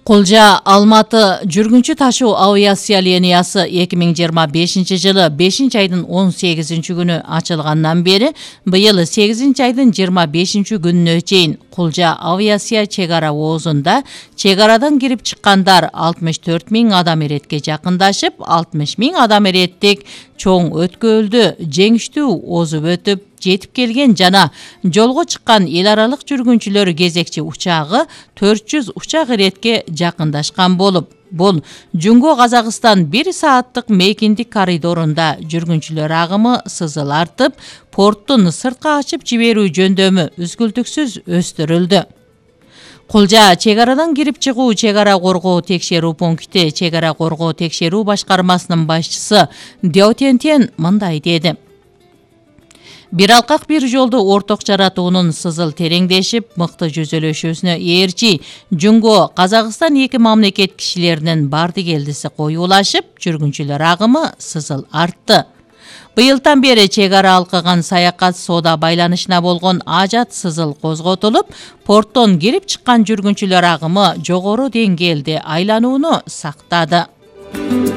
Кулжа Алматы жүргүнчү ташуу авиация линиясы 2025 жылы 5 айдын 18 күнү ачылгандан бери быйыл 8 айдын 25 күнүнө чейин Кулжа авиация чек ара оозунда чек арадан кирип чыккандар 64 000 адам эретке жакындашып, 60 000 адам эреттик чоң өткөлдү жеңиштүү озуп өтүп жетип келген жана жолго чыккан эл аралык жүргүнчүлөр кезекчи учагы 400 учак эретке жакындашкан болуп, бул Жөнгө Казакстан 1 сааттык мейкиндик коридорунда жүргүнчүлөр агымы сызыл артып, порттун сыртка ачып жиберүү жөндөмү үзгүлтүксүз өстүрүлдү. Кулжа чек арадан кирип чыгуу чек ара коргоо текшерүү пункти чек ара коргоо текшерүү башкармасынын башчысы Деотентен мындай деди. Бир алкак бир жолду орток жаратуунун сызыл тереңдешип, мыкты жүзөлөшүүсүнө ээрчи Жөнгө Казакстан 2 мамлекет кишилеринин барды келдиси коюулашып, жүргүнчүлөр агымы сызыл артты. Быйылдан бери чек ара алкаган саякат соода байланышына болгон ажат сызыл козготулуп, порттон кирип чыккан жүргүнчүлөр агымы жогору деңгээлде айланууну сактады.